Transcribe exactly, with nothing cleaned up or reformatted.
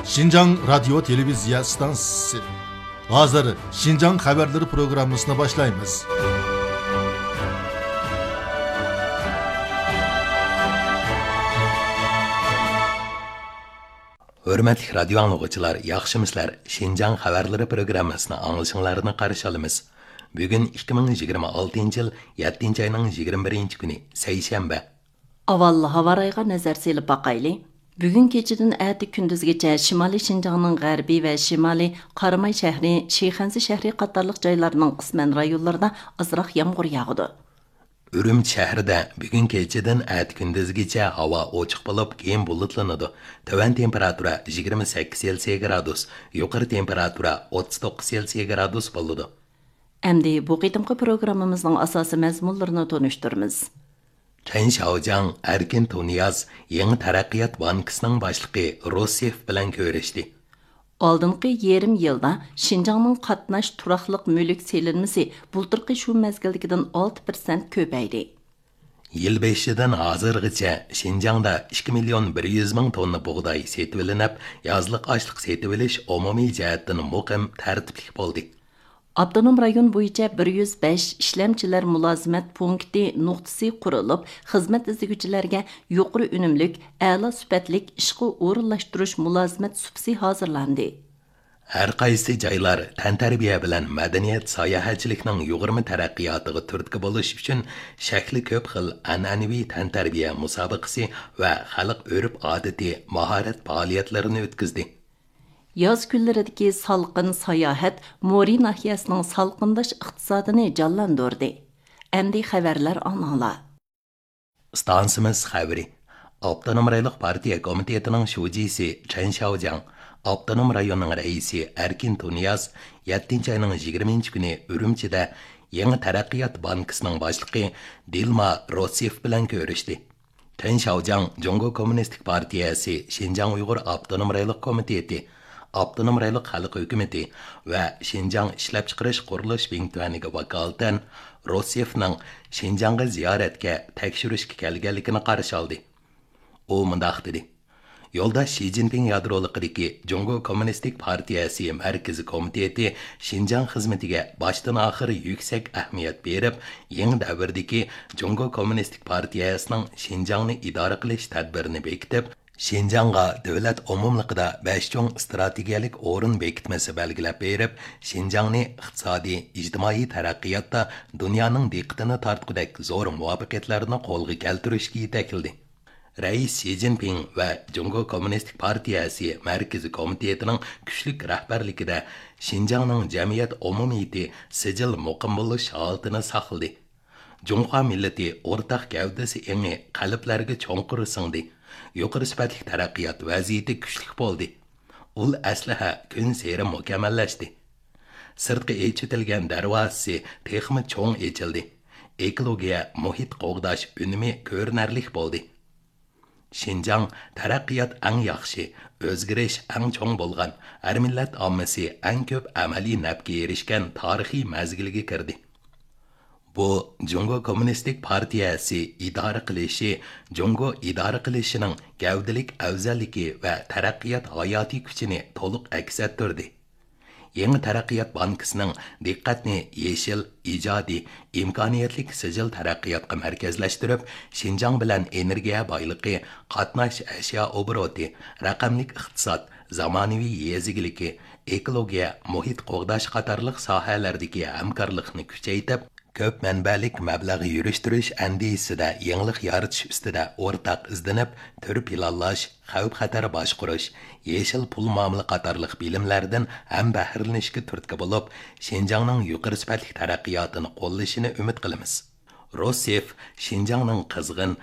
شىنجاڭ رادىيو تېلېۋىزىيە ئىستانسىسى. ھازىر شىنجاڭ خەۋەرلىرى پروگراممىسىنى باشلايمىز. ھۆرمەتلىك رادىيو ئاڭلىغۇچىلار، ياخشىمۇسىلەر؟ شىنجاڭ خەۋەرلىرى پروگراممىسىنى ئاڭلىشىڭلارنى قارشى ئالىمىز. بۈگۈن ئىككى مىڭ يىگىرمە ئالتىنچى يىل يەتتىنچى ئاينىڭ يىگىرمە بىرىنچى كۈنى، سەيشەنبە. ئاۋۋال ھاۋا رايىغا نەزەر سېلىپ باقايلى. بۈگۈن كېچىدىن ئەتە كۈندۈزگىچە شىمالىي شىنجاڭنىڭ غەربىي ۋە شىمالىي، قاراماي شەھىرى، شىخەنزە شەھىرى قاتارلىق جايلارنىڭ قىسمەن رايونلىرىدا ئازراق يامغۇر ياغىدۇ. ئۈرۈمچى شەھىرىدە بۈگۈن كېچىدىن ئەتە كۈندۈزگىچە ھاۋا ئوچۇق بولۇپ، كېيىن بۇلۇتلىنىدۇ. تۆۋەن تېمپېراتۇرا يىگىرمە سەككىز سېلسىيە گرادۇس، يۇقىرى تېمپېراتۇرا ئوتتۇز توققۇز سېلسىيە گرادۇس بولىدۇ. ئەمدى بۇ قېتىمقى پروگراممىمىزنىڭ ئاساسىي مەزمۇنلىرىنى تونۇشتۇرىمىز. چېن شياۋجياڭ ئەركىن تۇنىياز يېڭى تەرەققىيات بانكىسىنىڭ باشلىقى روسيېف بىلەن كۆرۈشتى. ئالدىنقى يېرىم يىلدا شىنجاڭنىڭ قاتناش تۇراقلىق مۈلۈك سېلىنمىسى بۇلتۇرقى شۇ مەزگىلدىكىدىن ئالتە پىرسەنت كۆپەيدى. يىل بېشىدىن ھازىرغىچە شىنجاڭدا ئىككى مىليون بىر يۈز مىڭ توننا بۇغداي سېتىۋېلىنىپ، يازلىق ئاشلىق سېتىۋېلىش ئومۇمىي جەھەتتىن مۇقىم، تەرتىپلىك بولدى. ئاپتونوم رايون بويىچە بىر يۈز بەش ئىشلەمچىلەر مۇلازىمەت پونكىتى نۇقتىسى قۇرۇلۇپ، خىزمەت ئىزدىگۈچىلەرگە يۇقىرى ئۈنۈملۈك، ئەلا سۈپەتلىك ئىشقا ئورۇنلاشتۇرۇش مۇلازىمەت سۇپىسى ھازىرلاندى. ھەر قايسى جايلار تەنتەربىيە بىلەن مەدەنىيەت ساياھەتچىلىكنىڭ يۇغۇرما تەرەققىياتىغا تۈرتكە بولۇش ئۈچۈن شەكلى كۆپ خىل ئەنئەنىۋى تەنتەربىيە مۇسابىقىسى ۋە خەلق ئۆرپ-ئادىتى، ماھارەت پائالىيەتلىرىنى ئۆتكۈزدى. ياز كۈنلىرىدىكى سالقىن ساياھەت مورى ناھىيەسىنىڭ سالقىنداش ئىقتىسادىنى جانلاندۇردى. ئەمدى خەۋەرلەر ئاڭلاڭلار. ئىستانسىمىز خەۋىرى. ئاپتونوم رايونلۇق پارتىيە كومىتېتىنىڭ شۇجىسى چېن شياۋجياڭ، ئاپتونوم رايوننىڭ رەئىسى ئەركىن تۇنىياز يەتتىنچى ئاينىڭ يىگىرمىنچى كۈنى ئۈرۈمچىدە يېڭى تەرەققىيات بانكىسىنىڭ باشلىقى دىلما روسيېف بىلەن كۆرۈشتى. چېن شياۋجياڭ جۇڭگو كوممۇنىستىك پارتىيەسى شىنجاڭ ئۇيغۇر ئاپتونوم رايونلۇق كومىتېتى، ئاپتونوم رايونلۇق خەلق ھۆكۈمىتى ۋە شىنجاڭ ئىشلەپچىقىرىش قۇرۇلۇش بىڭتۈەنىگە ۋاكالىتەن روسيېفنىڭ شىنجاڭغا زىيارەتكە، تەكشۈرۈشكە كەلگەنلىكىنى قارشى ئالدى. ئۇ مۇنداق دېدى: يولداش شى جىنپىڭ يادرولۇقىدىكى جۇڭگو كوممۇنىستىك پارتىيەسى مەركىزىي كومىتېتى شىنجاڭ خىزمىتىگە باشتىن-ئاخىر يۈكسەك ئەھمىيەت بېرىپ، يېڭى دەۋردىكى جۇڭگو كوممۇنىستىك پارتىيەسىنىڭ شىنجاڭنى ئىدارە قىلىش تەدبىرىنى بېكىتىپ، شىنجاڭغا دۆلەت ئومۇملۇقىدا بەش چوڭ ئىستراتېگىيەلىك ئورۇن بېكىتمىسى بەلگىلەپ بېرىپ، شىنجاڭنى ئىقتىسادىي، ئىجتىمائىي تەرەققىياتتا دۇنيانىڭ دىققىتىنى تارتقۇدەك زور مۇۋەپپەقىيەتلەرنى قولغا كەلتۈرۈشكە يېتەكلىدى. رەئىس شى جىنپىڭ ۋە جۇڭگو كوممۇنىستىك پارتىيەسى مەركىزىي كومىتېتىنىڭ كۈچلۈك رەھبەرلىكىدە شىنجاڭنىڭ جەمئىيەت ئومۇمىيىتى سىجىل مۇقىم بولۇش ھالىتىنى ساقلىدى. جۇڭخۇا مىللىتى ئورتاق گەۋدىسى ئېڭى قەلبلەرگە چوڭقۇر سىڭدى. يۇقىرى سۈپەتلىك تەرەققىيات ۋەزىيىتى كۈچلۈك بولدى. ئۇل ئەسلىھە كۈنسېرى مۇكەممەللەشتى. سىرتقا ئېچىۋېتىلگەن دەرۋازىسى تېخىمۇ چوڭ ئېچىلدى. ئېكولوگىيە، مۇھىت قوغداش ئۈنۈمى كۆرۈنەرلىك بولدى. شىنجاڭ تەرەققىيات ئەڭ ياخشى، ئۆزگىرىش ئەڭ چوڭ بولغان، ھەر مىللەت ئاممىسى ئەڭ كۆپ ئەمەلىي نەپكە ئېرىشكەن تارىخىي مەزگىلگە كىردى. بۇ، جۇڭگو كوممۇنىستىك پارتىيەسى ئىدارە قىلىشى، جۇڭگو ئىدارە قىلىشىنىڭ گەۋدىلىك ئەۋزەللىكى ۋە تەرەققىيات ھاياتىي كۈچىنى تولۇق ئەكس ئەتتۈردى. يېڭى تەرەققىيات بانكىسىنىڭ دىققەتنى يېشىل، ئىجادىي، ئىمكانىيەتلىك سىجىل تەرەققىياتقا مەركەزلەشتۈرۈپ، شىنجاڭ بىلەن ئېنېرگىيە بايلىقى، قاتناش ئەشيا ئوبوروتى، رەقەملىك ئىقتىساد، زامانىۋى يېزا ئىگىلىكى، ئېكولوگىيە، مۇھىت قوغداش قاتارلىق ساھەلەردىكى ھەمكارلىقنى كۈچەيتىپ، كۆپ مەنبەلىك مەبلەغ يۈرۈشتۈرۈش ئەندىزىسىدە يېڭىلىق يارىتىش ئۈستىدە ئورتاق ئىزدىنىپ، تۈر پىلانلاش، خەۋپ-خەتەر باشقۇرۇش، يېشىل پۇل مۇئامىلە قاتارلىق بىلىملەردىن ھەمبەھىرلىنىشكە تۈرتكە بولۇپ، شىنجاڭنىڭ يۇقىرى سۈپەتلىك تەرەققىياتىنى قوللىشىنى ئۈمىد قىلىمىز. روسيېف شىنجاڭنىڭ قىزغىن،